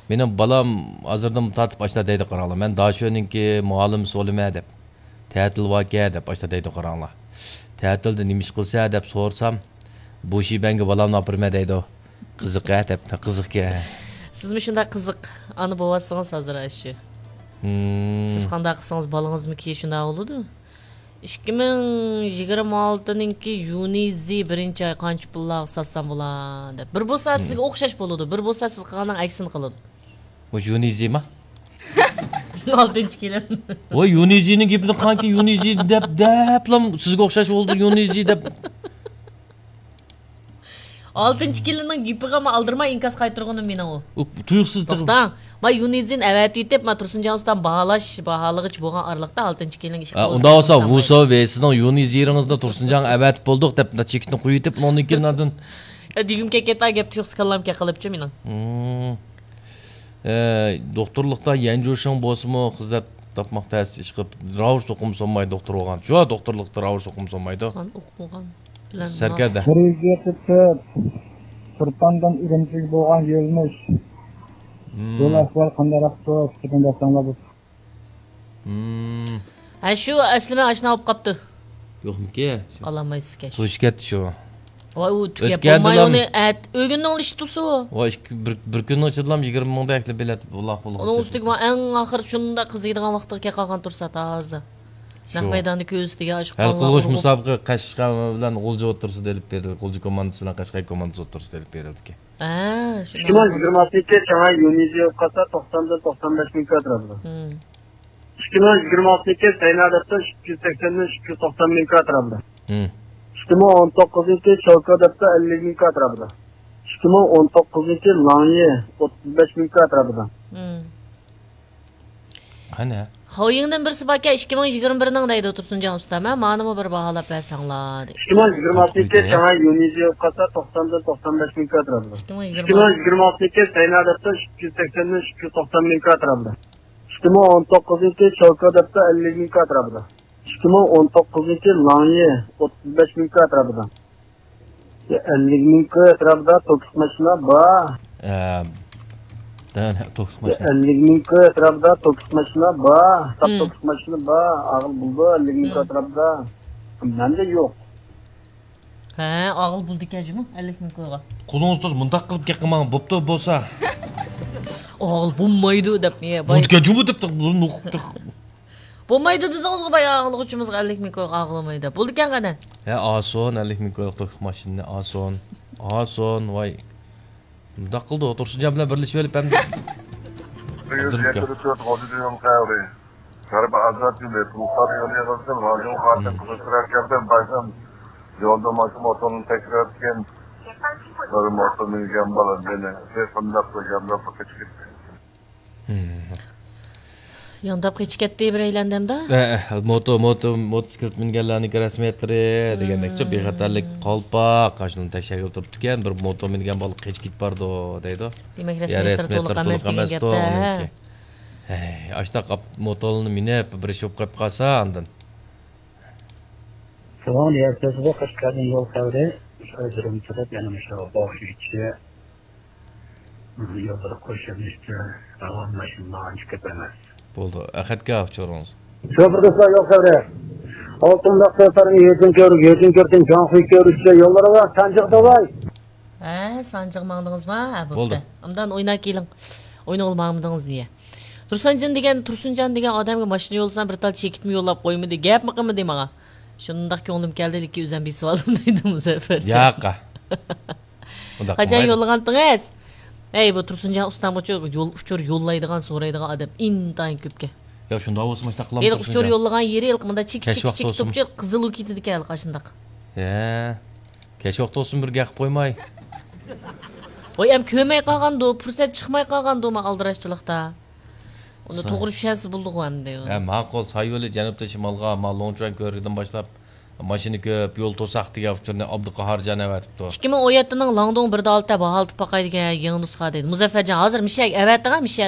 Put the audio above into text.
Менин балам азырдан тартып ашта дейди караңла. Мен дашөнүнки муалим солиме деп. Тәтил ваке деп ашта дейди караңла. Тәтилди немиш кылса деп сорсам, бу шибенге баламны апырма дейди. Кызык деп, кызык ке. Сизми ушундай кызык аны болбасыңыз азыр ашы. Сиз кандай кылсаңыз балаңызмики ушундай болуду? 2026-ныңки Юнизи биринчи ай канча пулга сатсам була деп. Бир болсо сизге окшош болуду, бир болсо сиз кылгандан аксын кылат. Бу Юнизи ма? 6-чы келем. Ой, Юнизинин кепини канки Юнизи деплам сизге окшош болду Юнизи деп. 6-чы келинин гипига ма алдырмай инкас кайтырганы мен ал. Туюксуз Токтоң. Ма Юнизин әвәт деп, ма Турсунжан устан багалагыч болгон аралыкта 6-чы келин иши кылып. Унда болсо Вусо весинин Юнизириңизди Турсунжан әвәт болдук деп чекитин куюп, онункин андан Дигимке кета кеп тюкскаламке кылыпчы менин. Докторлукта янжушуң болсуму кыздар тапмакта иш кылып, раурс окум сонмай доктор болгон. Жо, докторлукта раурс окум сонмайды. Хан окумаган. Серкеде. Сырттандан иремчил болгон жолмуш. Жол ахвал кандайрак болот деген жасаңлабыз. Ашу аслыма ашна алып капты. Жокмуке? Аламайсыз кеш. Суш кетти шу. Ой, у түгеп болмай оны әт өгүннүн иш тусу. Ой, bir күн чыдылам 20 мыңдай әкле билет Аллах болгон. Onun üstüge en ahır şunda kızıydıgan vaqtga ke kalgan tursa taazı. Nak meydanı köüstüge açık kalgan. Kılgıç musabıqı Kaşqay bilen Olcu otursu delip berdi. Olcu komandası bilen Kaşqay komandası otursu delip berildi ki. Şuna. 2022 жаңа Юнизи ката 90-95 миң квадрат. 2022 Сайнадатта 380-ден 390 миң квадрат. 2019 Чалкадатта 50 миң квадрат. 2019 Лаңе 35 миң квадрат. Qana? Xoyingdan birsi baka 2021-ning deydi Tursunjon usta. Men manimi bir baholab bersanglar. 2022 жаңа Юнизи ката 90-95 миң квадрат. 2022 Сайнадатта 380-ден 390 миң квадрат. 2019 Чалкадатта 50 миң квадрат. 2019 Лаңе 35 миң квадрат. 50 миң квадратда токс машина бар. 50 миң квадратда токс машина бар. Токс машина бар. Агыл булду 50 миң квадратда. Менде жок. Агыл булду экенжими 50 миң койго. Колуңуз мындак кылып кеп кылмаң бопто болсо. Агыл булмайды деп не бай. Булду жуму деп укуптук. Болмайды дедіңізгі бай ағылық үшімізға 50 миң койға ағыламайды. Болды кен қадан? Асон, 50 миң койық тоқ машинне, асон, вай. Мұнда қылды, отырсын жамына бірліші өліп әмді. Яндап кечкетти бир эйлендем да. Мотоциклет мингенлерни расметтери дегендекчи бейхатарлык калпак кашынын текшегип турупту экен. Бир мото минген балык кечкит барды дейди. Демек расметтер толук эмес деген кеп да. Аштак мотолуну минеп бир иш болуп калып калса андан. Соң эртесиде Кашкардын жол кабыры өзүрүм чыгып, яна ошо бошичи жолдо көчөмүштө алам машиналарын чыгып эмес. Болду. Ахатка алып чыгарыңыз. Şoförler yol kavre. Altında seferin yetin körtün cansı körüşçe yollara var. Sancık da var. Sancık mağdınız mı? Boldu. Amdan oyna kelin. Oyna olmağımdınız niye? Tursuncan degen adamga maşina yolsan bir tal çekitmi yollap koymu de gap mı deyim ağa. Şunundak köngülüm geldi iki üzen bir sıvalım deydim bu sefer. Yaqa. Kaçan yollagandыңыз? Bu Tursunjan ustam yol uçur yollaydigan so'raydigan adam intayin köpke. Ya şunda bolsun işte kılam Tursunjan. Uçur yollagan yeri ilkimda çik topçu kızıl ukitidi kel kaşındaq. Keç vaqt olsun bir gaqib qo'ymay. Oy em kömey qalgando, fursat chiqmay qalgando ma aldiraşçılıqda. Onu to'g'ri tushasiz bulduq hamda. Ma'qul, Sayyo'li janubda shimolga Lonchon ko'rigidan boshlab mashina ko'p, yo'l to'saq degan uchurni Abduqahorjon avatibdi. 2017-ning Langdong 1.6 bahaltib baqay degan yangi nusxa deydi. Muzaffarjon hozir mishak avatdigan mishak